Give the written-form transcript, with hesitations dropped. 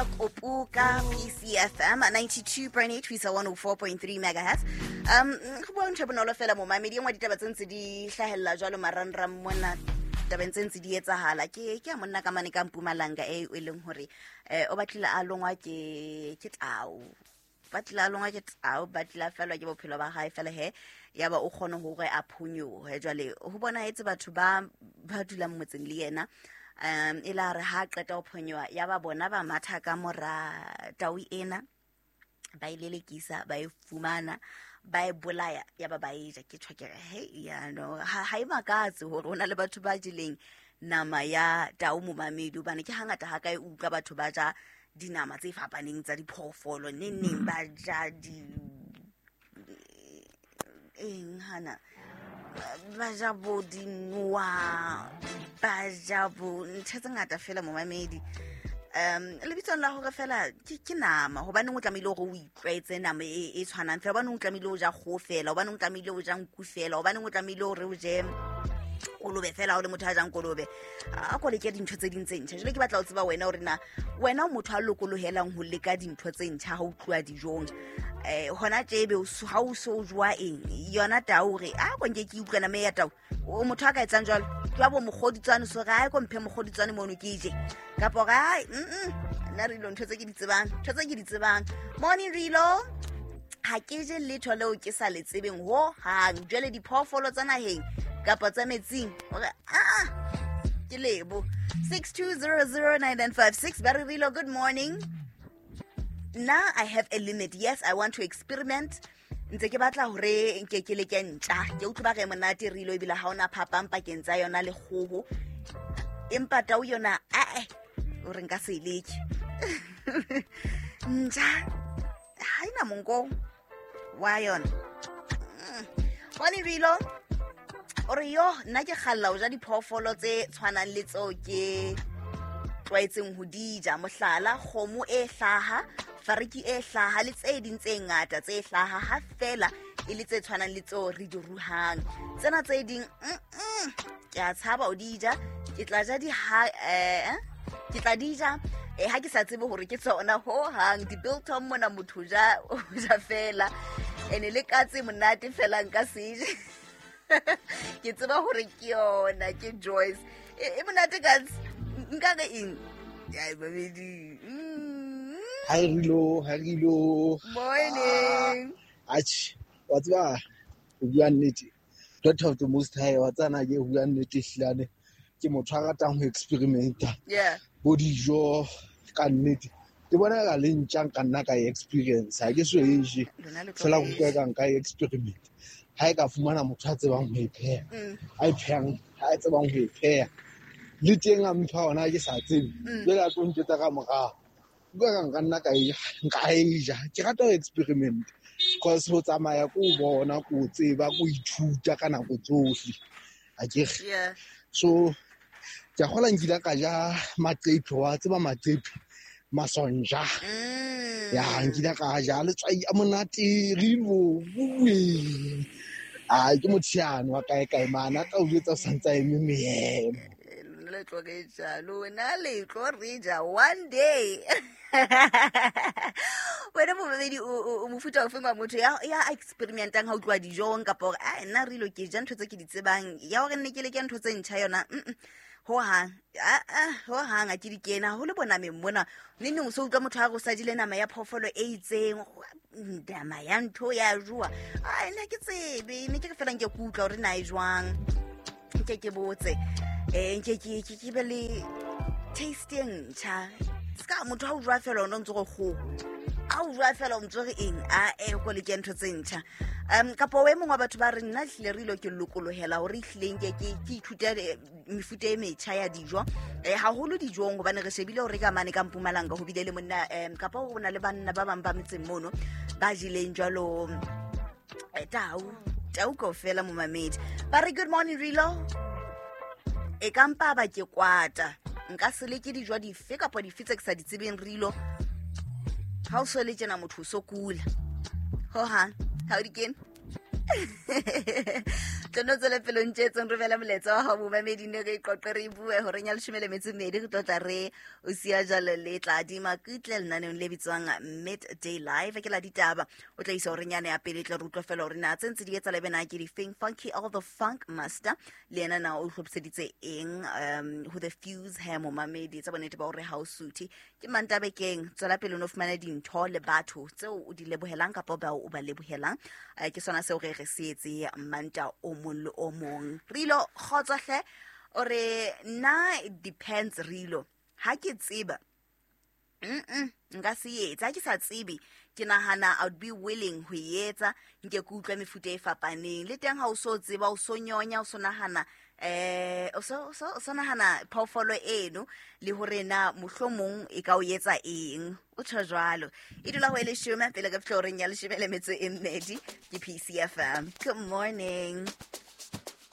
Kopuka PCFM 92.8 ho isa 104.3 megahertz. Go bua ntho e bonolo fela, momamedi. E nngwe ditaba tse ntse di hlahella jwalo marangrang mona, tabeng tse ntse di etsahala ke ya monna ka mane ka Mpumalanga e leng hore o batlile a longwa ke tau, ba tlile a longwa ke tau, ba tlile a felwa ke bophelo ba hae fela he, ya ba o kgone hore a phonyohe. Jwale ho bonahetse batho ba dulang motseng le yena, e la re ha qeta ho phonyoha, ya ba bona ba matha ka mora tau ena, ba e lelekisa, ba e fumana, ba e bolaya, ya ba ba e ja. Ke tjho ke re, he, ya no ha e makatse hore ho na le batho ba jeleng nama ya tau, momamedi, hobane ke hangata ha ka e utlwa batho ba ja dinama tse fapaneng tsa diphoofolo. Neng neng ba ja di eng hana, ba ja bo dinoa, ba ja bo ntho tse ngata fela, momamedi, lebitsong la hore fela ke nama. Hobaneng o tlamehile hore o itlwaetse nama e tshwanang fela? Hobaneng o tlamehile o ja kgoho fela? Hobaneng o tlamehile o ja nku fela? Hobaneng o tlamehile hore o je kolobe fela? Ha o le motho a jang kolobe, a ko leke dintho tse ding tse ntjha. Jwale ke batla ho tseba wena hore na wena o motho a lokolohelang ho leka dintho tse ntjha ha o tluwa dijong. Hona tjebe ha o so o joa eng yona tau, hore a ko nke ke utlwa nama e ya tau. O motho a ka etsang jwalo jwa bo mokgoditswane, so re a ko mphe mokgoditswane mono ke je, kapa hore ai, nna rilo ntho tse ke di tsebang, ntho tse ke di tsebang. Morning, Rilo. Ha ke je letho leo ke sa le tsebeng ho hang. Jwale diphoofolo tsa naheng kapa tsa metsing, hore aa ke lebo 62009956. Ba re, Rilo, good morning. Nna I have a limit. Yes, I want to experiment, ntse ke batla hore nke ke leke ntja, ke utlwe ba re monate, Rilo, ebile ha ona phapang pakeng tsa yona le kgoho, empa tau yona ae, o re nka se e leke. Ntja ha ena monko wa yona. Morning, Rilo. O re, yo, nna ke kgalla ho ja diphoofolo tse tshwanang le tseo ke tlwaetseng ho di ja, mohlala kgomo e hlaha, fariki e hlaha le tse ding tse ngata tse hlaha, ha fela e le tse tshwanang le tseo re di ruhang. Tsena tse ding, ke a tshaba ho di ja. Ke tla ja di ha ke tla di ja ha ke sa tsebe hore ke tsona ho hang. Di-biltong mona motho o ja fela, ene le katse monate fela, nka se je, ke tseba hore ke yona. Ke Joyce. E monate katse, nka re eng? Ai, babedi. Hi Rilo, hi Rilo. Morning. Atjhe, wa tseba, ho bua nnete, Daughter of the Most High, wa tsana ke ho bua nnete, hlilane ke motho a ratang ho experimenta bo dijo. Ka nnete ke bona ka le ntja nka nna ka e experience, ha ke so e je. Lona le tlo Fela e ke utlwa ja. ka nka e experiment ha e ka fumana motho a tsebang ho e pheha, a e phehang, a tsebang ho e pheha, le teng a mpha ona ke sa tsebe. Jwale a tlo ntjwetsa ka morao, utlwa ka nka nna nka e ja. Ke rata ho experiment cause ho tsamaya ko o bona, ko o tseba, ko ithuta ka nako tsohle, akere? So ke a kgola nkile ka ja maqephe, wa tseba maqephe, masonja. Ya, nkile ka ja letswai a monate, Rilo bue. A ke motho yane wa kae kae mane a tla o jwetsa o santse a eme meemo. Lona le tlo re ja, lona le tlo re ja one day. Wena momamedi, o mofuta ofeng wa motho ya experimentang ha o tloha dijong, kapa hore a nna Rilo ke ja ntho tse ke di tsebang, ya hore nne ke leke ntho tse ntjha yona, ho hang ho hang a ke di kena haholo bonameng mona? Neng neng o so utlwa motho a re o sa jele nama ya phoofolo e itseng, nama ya ntho ya joa. Ai, nna ke tsebe, ne ke re fela nke ke utlwa hore na e jwang, nke ke botse, nke ke be le taste e ntjha. Ska motho ha o jwa fela, o ntse re kgoho, a o jwa fela, o ntse re eng, a e ko leke ntho tse ntjha. Kapa o e mongwe wa batho ba re, nna hlile re ilo ke lokolohela hore ehlileng ke ithute mefuta e metjha ya dijo, haholo dijong, hobane re shebile hore ka mane ka Mpumalanga ho bile le monna, kapa ho na le banna ba bang ba metseng mono ba jeleng jwalo tau kaofela. Momamedi, ba re, good morning, Rilo. E ka mpa ba ke kwata, nka se leke dijo dife kapa dife tse ke sa di tsebeng. Rilo, ha o so le tjena motho o so kula hohang, ha o di kene. Tlono tswele pele o ntjetseng, romela molaetsa wa hao momamedi, ne re qoqe, re bue horeng ya 12 re tlo tla re o siya jalo le Tladi Makutle lenaneong le bitswang Midday Live ke la ditaba. O tla isa horeng yane ya pele, tla re utlwa fela hore na tse ntse di etsa lebe na ke difeng. Funky All the Funk Master le yena na o hlophiseditse eng ho the fuse he momamedi, tsa bonnete ba hore ha o suthe ke mantabekeng. Tswela pele o no fumana dintho le batho tseo o di lebohelang kapa bao o ba lebohelang. Ke sona seo re re se etse Manta o mong le o mong. Rilo kgotso hle, o re nna it depends. Rilo, ha ke tseba nka se etse, ha ke sa tsebe ke nahana I would be willing ho e etsa, nke ke utlwe mefuta e fapaneng. Le teng ha o so tseba, o so nyonya, o so nahana o so nahana phoofolo eno le hore na mohlomong e ka o etsa eng, o tjho jwalo. E dula ho e 10 pele ka fihla horeng ya 12 ke PCFM. Good morning.